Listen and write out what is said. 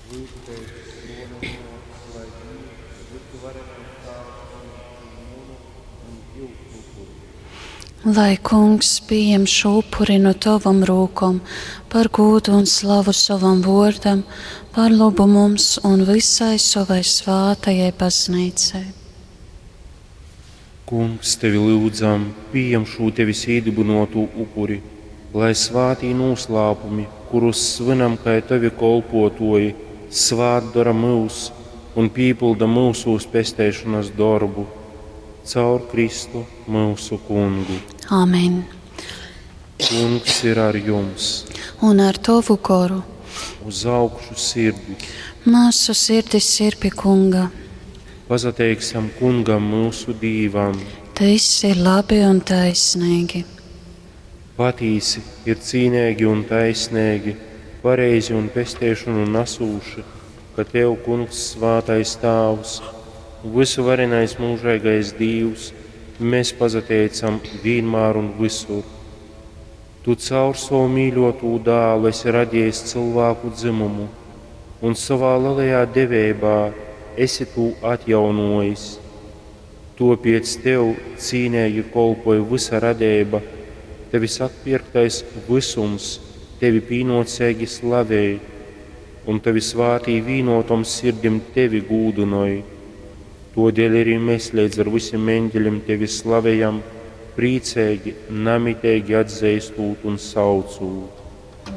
Lyudzu tevis, brōli un mōsas, lai Dīvs, vysuvarenais Tāvs, pījem šū munu un jyusu upuri. Lai Kungs pījem šo upuri no tovom rūkom par gūdu un slavu sovam vōrdam, par lobu mums un visai sovai svātajai baznīcai. Kungs, tevi lyudzam, pījem šū tevis īdybynōtū upuri, lai svātī nūslāpumi, kurus svynam kai tovi kolpōtōji, svātdora myus un pīpylda myusūs pesteišonas dorbu. Caur Kristu, myusu Kungu. Amen. Kungs ir ar jums. Un ar tovu goru. Uz augšu sirdis. Mūsu sirdis ir pie Kunga. Pasateiksim Kungam, myusu Dīvam. Tas ir labi un taisnīgi. Patīsi ir cīneigi un taisneigi, pareizi un pesteišonu nasūši, ka Tev, Kungs, svātais Tāvs, vysuvarenais mūžeigais Dīvs, mēs pasateicam vienmēr un visur. Tu caur savu mīļotū dālu esi radījis cilvēku dzimumu un savā lielajā deveibā esi tū atjaunojis. Topiec Tev cīneigi kolpoj vysa radeiba, Tevis atpirktais visums Tevi pīnōceigi slavej, un Tavi svātī vīnotom sirdim Tevi gūdynoj. Todēļ arī mēs līdz ar visiem eņģeļiem Tevi slavejam, prīceigi, namiteigi atzeistūt un saucūt.